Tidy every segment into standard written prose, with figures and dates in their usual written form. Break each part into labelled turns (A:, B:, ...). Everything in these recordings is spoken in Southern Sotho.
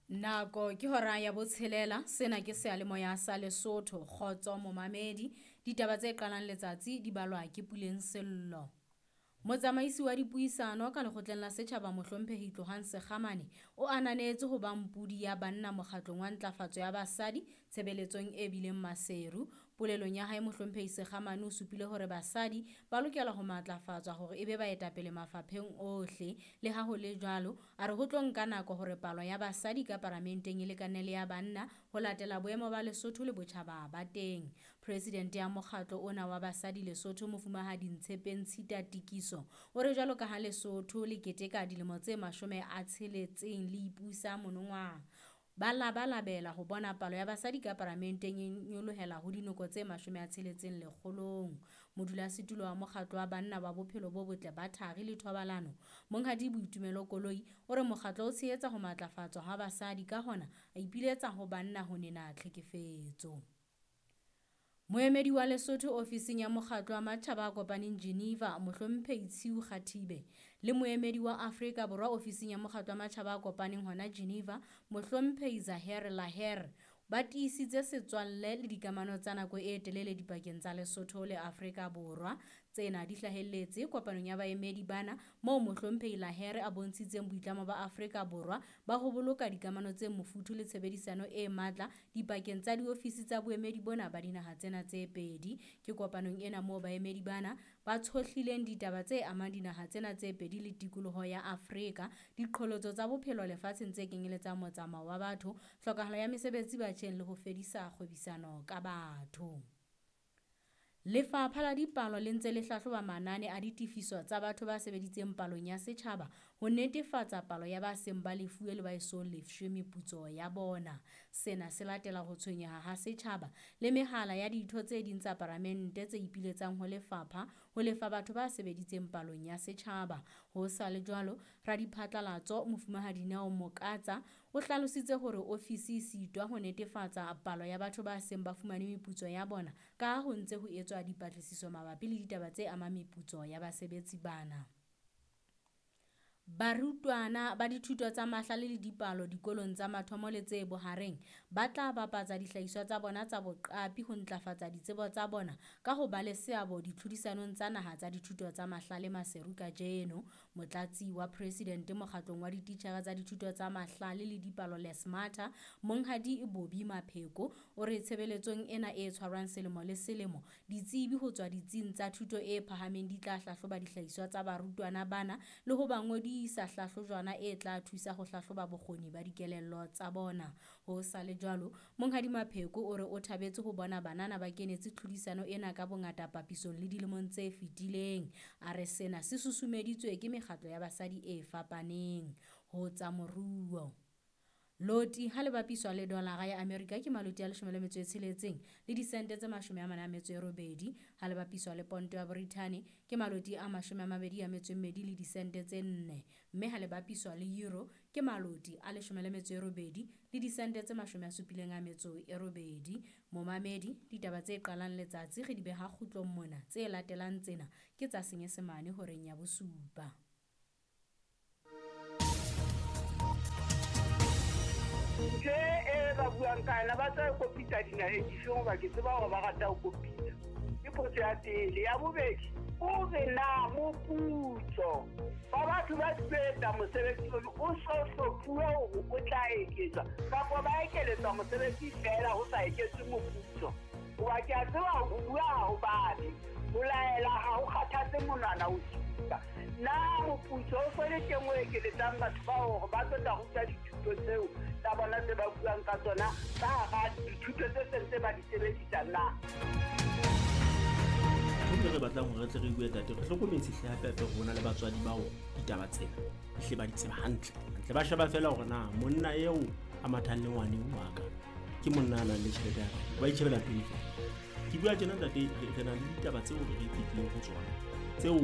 A: Nako ke hora ya botshelela, sena ke seyalemoya sa Lesotho, Kgotso Momamedi. Ditaba tse qalang letsatsi di balwa ke Puleng Sello. Motsamaisi wa dipuisano ka lekgotleng la setjhaba Mohlomphehi Tlohang Sekgamane o ananetse ho ba mpudi ya banna mokgatlong wa ntlafatso ya basadi tshebeletsong e bileng Maseru. Polelong ya hae Mohlomphehi Sekgamane o supile hore basadi ba lokela ho matlafatswa hore e be baetapele mafapheng ohle. Le ha ho le jwalo, a re ho tlo nka nako hore palo ya basadi ka paramenteng e lekane le ya banna ho latela boemo ba Lesotho le botjhaba ba teng. Presidente ya mokgatlo ona wa basadi Lesotho Mofumahadi Ntshepeng Tshita Tikiso o re jwalo ka ha Lesotho le keteka dilemo tse 60 le ipusa monongwaha, ba labalabela ho bona palo ya basadi ka paramenteng e nyolohela ho dinoko tse 60 lekgolong. Modulasetulo wa mokgatlo wa banna wa bophelo bo botle ba thari le thobalano, Monghadi Boitumelo Koloi, o re mokgatlo o tshehetsa ho matlafatswa ha basadi, ka hona a ipiletsa ho banna ho nena tlhekefetso. Moemedi wa Lesotho ofising ya mokgatlo wa matjhaba a kopaneng Geneva, Mohlomphehi Tshiu Kgathibe, le moemedi wa Afrika Borwa ofising ya mokgatlo wa matjhaba a kopaneng hona Geneva, Mohlomphehi Zaher Laher, ba tiisitse setswalle le dikamano tsa nako e telele dipakeng tsa Lesotho le Afrika Borwa. Tsena di hlahelletse kopanong ya baemedi bana moo Mohlomphehi Laher a bontshitseng boitlamo ba Afrika Borwa ba ho boloka dikamano tse mofuthu le tshebedisano e matla dipakeng tsa diofisi tsa boemedi bona ba dinaha tsena tse pedi. Ke kopanong ena moo baemedi bana ba tshohlileng ditaba tse amang dinaha tsena tse pedi le tikoloho ya Afrika, diqholotso tsa bophelo lefatsheng tse kenyeletsang motsamao wa batho, tlhokahalo ya mesebetsi batjheng le ho fedisa kgwebisano ka batho. Lefapha la dipalo le ntse le hlahloba manane a ditefiso tsa batho ba sebeditseng palong ya setjhaba ho netefatsa palo ya ba seng ba lefuwe le ba eso lefshwe meputso ya bona. Sena se latela ho tshwenyeha ha setjhaba le mehala ya ditho tse ding tsa paramente tse ipiletsang ho lefapha ho lefa batho ba sebeditseng palong ya setjhaba. Ho sa le jwalo, radiphatlalatso Mofumahadi Neo Mokatsa o hlalositse hore ofisi e sitwa ho netefatsa palo ya batho ba seng ba fumane meputso ya bona ka ho ntse ho etswa dipatlisiso mabapi le ditaba tse amang meputso ya basebetsi bana. Barutwana ba dithuto tsa mahlale le dipalo dikolong tsa mathomo le tse bohareng ba tla bapatsa dihlahiswa tsa bona tsa boqapi ho ntlafatsa ditsebo tsa bona ka ho ba le seabo ditlhodisanong tsa naha tsa dithuto tsa mahlale Maseru kajeno. Motlatsi wa presidente mokgatlong wa dititjhere tsa dithuto tsa mahlale le dipalo Lesmata, Monghadi Bobby Mapheko, o re tshebeletsong ena e tshwarwang selemo le selemo, ditsebi ho tswa ditsing tsa thuto e phahameng di tla hlahloba dihlahiswa tsa barutwana bana le ho ba ngodisa hlahlojwana e tla thusa ho hlahloba bokgoni ba dikelello tsa bona. Ho sa le jwalo, Monghadi Mapheko o re o thabetse ho bona banana ba kenetse tlhodisano ena ka bongata papisong le dilemong tse fetileng. A re sena se susumeditswe ke mekgatlo ya basadi e fapaneng. Ho tsa moruo, loti ha le bapiswa le dolara ya Amerika ke maloti a 16 le disente tse 48, ha le bapiswa le ponto ya Britain ke maloti a 22 le disente tse 4, mme ha le bapiswa le euro ke maloti a 18 le disente tse 78. Momamedi, ditaba tse qalang letsatsi re di beha kgutlong mona, tse latelang tsena ke tsa Senyesemane horeng ya 7.
B: Ntho e ba buang ka yona ba tla kopitsa dinaheng dife hoba ke tseba hore ba rata ho kopitsa. Ke potso ya pele. Ya bobedi, o re na moputso ba batho ba sebetsa mosebetsi ono o so hlophuwe hore o tla eketswa kapa ba ekeletswa mosebetsi feela ho sa eketswe moputso. Hoba ke a tseba ho bua ha ho babe, ho laela ha ho kgathatse monwana o supa. Na moputso o so le teng o ekeletsang batho bao hore ba tlo tla ruta dithuto tseo tsa bona tse ba buang ka tsona ka hara dithuto tse seng tse ba di sebedisang na?
C: Ntho re batlang hore re tle re bue tate, re hlokometse hle hape hape rona le batswadi bao ditaba tsena hle ba di tseba hantle. Hantle ba sheba feela hore na monna eo a mathang le ngwane wa ka ke monna a nang le tjhelete ya ka, ba itjhebela pele feela. Ke bua tjena ntate, re na le ditaba tseo re fetileng ho tsona tseo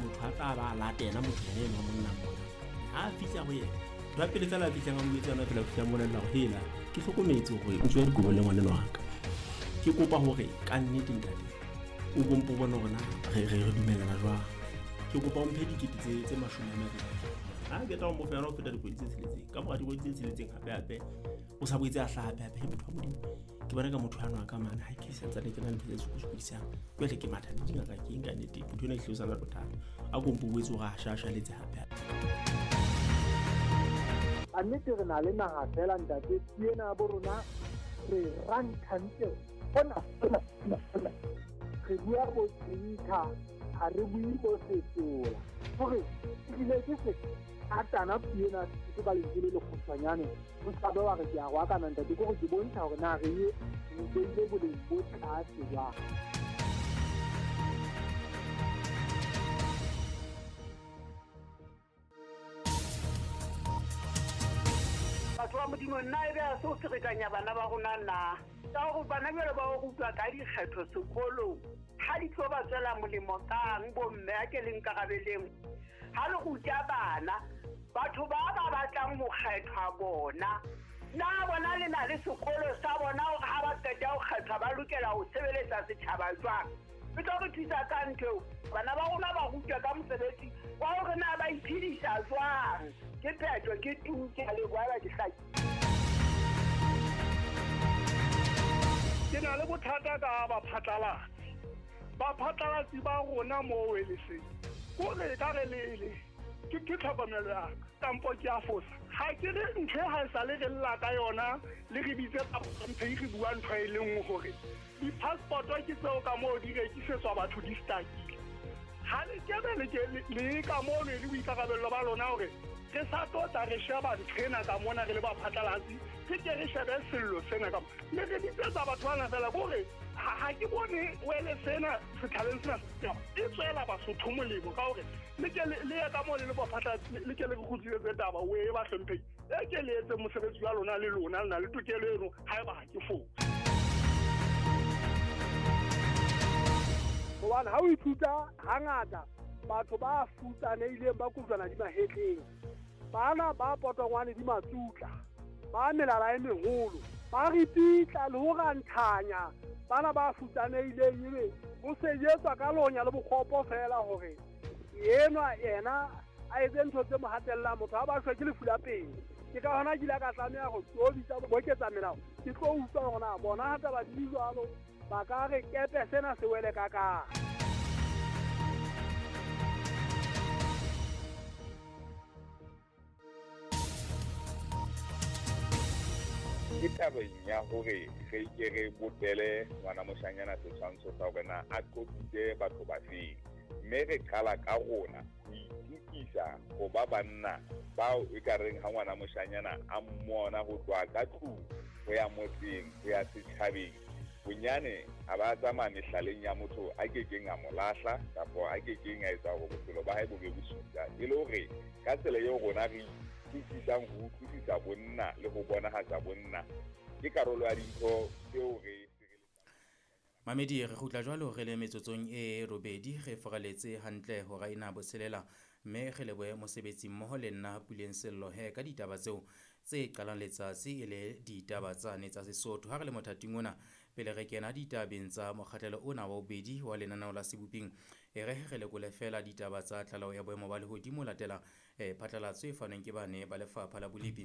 C: motho a tla ba latela motho yena enwa monna mona. Ha a fihla ho yena, ntho ya pele feela a fihlang a mo jwetsa yona feela, o fihla a mmolella hore hela ke hlokometse hore o tswe dikobo le ngwaneno wa ka. Ke kopa hore ka nnete ntate o bompo bone hore na re dumellana jwang. Ke kopa o mphe dikete tse 20. Ha ke tla mo fa yona ho feta dikgwedi tse tsheletseng. Ka mora dikgwedi tse tsheletseng hape hape o sa boetse a hlaha hape hape. Motho wa Modimo, ke bona ka motho ano a ka mane ha ke santsane ke na le ntho tse sokodisang. Jwale ke matha le dingaka ke eng ka nnete, motho ena ehlile o sa na le bothata. A ko mpo boetse hore a shashaletse hape hape.
D: A nnete re na le naha fela ntate, ke ena bo rona re ranthantle hona hona hona. Re bua bo tsinka, ha re bue bo setola. Hore ebile ke se atana puo ena ke ka lentswe le lekgutshwanyane, o sa be wa re ke a roakana ntate, ke hore ke bontsha hore na re e beile boleng bo tlase jwang.
B: Batho ba Modimo, nna ebe ha se o ferekanya bana ba rona na? Ka hore bana jwale ba o rutwa ka dikgetho sekolong, ha di tlo ba tswela molemo kang bomme a ke le nkarabeleng? Ha le ruta bana, batho ba ba batlang ho kgethwa bona, na bona le na le sekolo sa bona hore ha ba qeta ho kgethwa ba lokela ho sebeletsa setjhaba jwang? E tlo re thusa ka ntho eo. Bana ba rona ba rutwa ka mosebetsi wa hore na ba iphedisa jwang. Ke phetho, ke tu, ke a leboha, ba ke hlakile.
E: Ke na le bothata ka baphatlalatsi. Baphatlalatsi ba rona moo e le seng. Kore e ka re le ke tlhokomelo ya ka, kampo ke a fosa. Ha ke re ntho e ha e sale re lla ka yona, le re bitse ka ntho e re bua ntho e le nngwe hore di-passport-o ke tseo ka moo di rekisetswa batho di stakile. Ha le kebe le ke le ka mono e le boikarabello ba lona hore re sa tlo tla re sheba ntho ena ka mona re le baphatlalatsi, re ke re shebe sello sena ka mona. Mme re bitsetsa batho bana fela ke hore ha ke bone wele sena setjhabeng sena e tswela Basotho molemo ka hore le ke le ye ka moo le le baphatlalatsi, le ke le re kgutlisetse taba o e ba hlomphehi. E ke le etse mosebetsi wa lona le lona, le na le tokelo eno haeba ha ke fose.
D: Hobane ha o ithuta hangata batho ba futsanehileng ba kojwana di mahetleng, bana ba potongwane di matsutla, ba melala e meholo, ba ripitla le ho ranthanya bana ba futsanehileng, ebe ho sejetswa ka lonya le bokgopo fela hore enwa yena a etse ntho tse mo hatellang. Motho ha ba shwe ke lefu la pele. Ke ka hona ke ile ka tlameha ho tlo bitsa boketsa melao, ke tlo utlwa hore na bona ha taba di jwalo ba ka re kepe sena se wele ka kae.
F: Ke tabeng ya hore re ke re bopele ngwana moshanyana setshwantsho sa hore na a qopitse batho ba feng, mme re qala ka rona ho itukisa ho ba banna bao e ka reng ha ngwana moshanyana a mmona ho tloha ka tlung ho ya motseng ho ya setjhabeng, bonyane a ba tsamaya mehlaleng ya motho a kekeng a mo lahla kapa a kekeng a etsa hore bophelo ba hae bo be bosula. E le hore ka tsela eo rona re utlwisisang ho utlwisisa bonna le ho bonahatsa bonna ke karolo ya dintho tseo re
G: Mamedi, re kgutla jwalo re le metsotsong e robedi, re foraletse hantle hora ena botshelela, mme re lebohe mosebetsi mmoho le nna Puleng Sello he ka ditaba tseo tse qalang letsatsi e le ditaba tsane tsa Sesotho. Ha re le mothating ona, pele re kena ditabeng tsa mokgahlelo ona wa bobedi wa lenaneo la Seboping, e re re lekole fela ditaba tsa tlaleho ya boemo ba lehodimo latela phatlalatso e fanweng ke bane ba lefapha la bolepi.